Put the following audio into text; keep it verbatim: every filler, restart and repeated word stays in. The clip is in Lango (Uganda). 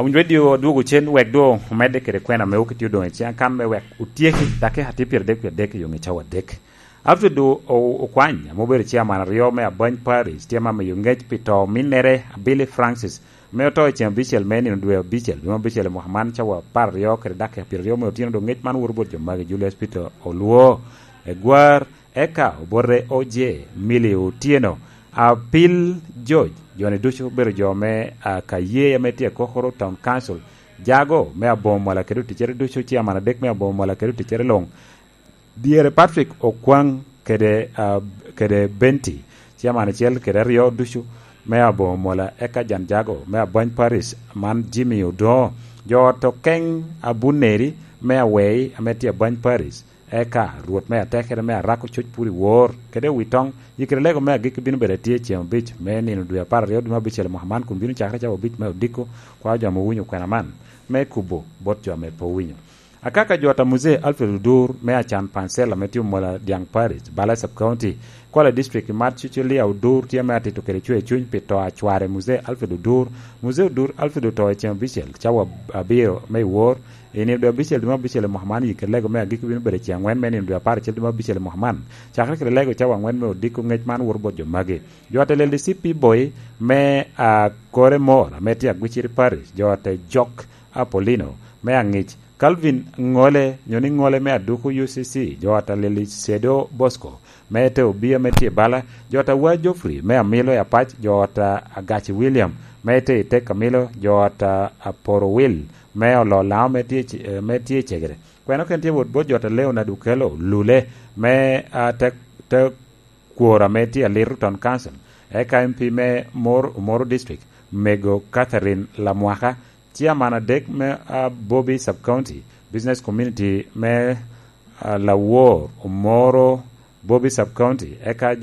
Winy Radio odwogo cen wek doŋ omedde kede kwena me wok itye odoŋ i ciŋ akan me wek otyeki dakika tye pyeradek wie adek i yo ŋe cawa adek. Alfred O-, O-, Okwany, ame obedo chairman aryo me Abany Parish, tye ame amiyo ngec pi to ominnere, Billy Francis, ame oto i ceng abicel me nino dwe abicel, dwe me abicel i mwaka man, cawa apar aryo kede dakika pyeraryo me otyeno, dok ngec man woto bot jo magi: Julius Peter Olwo, Egwar, eka obote Oje, Milly Otieno, Apil George, jo-ni ducu obedo jo me, a, Kaye ame tye i Kokoro Town Council, Jago me Aboŋo Mola kede oticcere ducu, ciaman adek me Aboŋo Mola kede oticcere luŋ, dyere Patrick Okwaŋ kede, a, kede Benti, ciaman acel kede aryo ducu me Aboŋo Mola, eka Jan Jago me Abany Parish, man Jimmy Odoŋo, jo ot Okeŋ Abuneri me Awei ame tye Abany Parish, eka Rwot me atekere me Arako Coc Puri Wor, kede Owitoŋ, yikere lego me agikki bino bedo atye ceŋ abic me nino dwe apar aryo dwe me abicel i mwaka man, kun bino cakere cawa abic me odiko, kwa jo ame owinyo kwena man, me kubo bot jo ame pe owinyo. Akaka jo ata Muzee Alfred Odur me Acan Pansel ame tye Omola Dyaŋ Parish, Bala Sub County, Kwala District, i mat Cuculia Odur tye ame atito kede cwer cuny pi to a cware Muzee Alfred Odur. Muzee Odur Alfred oto i ceŋ abicel, cawa abiro me i wor, i nino dwe abicel dwe me abicel i mwaka man, yikere lego me agikki bino bedo i ceŋ angwen me nino dwe apar acel dwe me abicel i mwaka man. Cakere kede lego cawa angwen me odiko, ngec man woto bot jo magi. Jo ata Leldi C P Boy me, a, Kore Mor ame tye Agwiciri Parish, jo ata Jok Apolino me Aŋic, Calvin Ŋole, nyo ni Ŋole me Aduku U C C, jo ata Leli Cedo Bosco, me te Obia me tye bala, jo ata Wa Geoffrey me Amilo i Apac, jo ata Agaci William, me te i Tek Amilo, jo ata Aporo Will, me Olo Laŋo me tye i Ce-, eh, me tye i Cegere. Kwena okene tye wot bot jo ata Leonard Okello Lule, me, ah, te, te Kwor ame tye Aliru Town Council, eka M P me Mor-, Omoro District, Mego Catherine Lamwaka, Chairman adek me, ah, Bobi Sub County, Business Community me, ah, Lawor, Omoro, Bobi Sub County, eka jo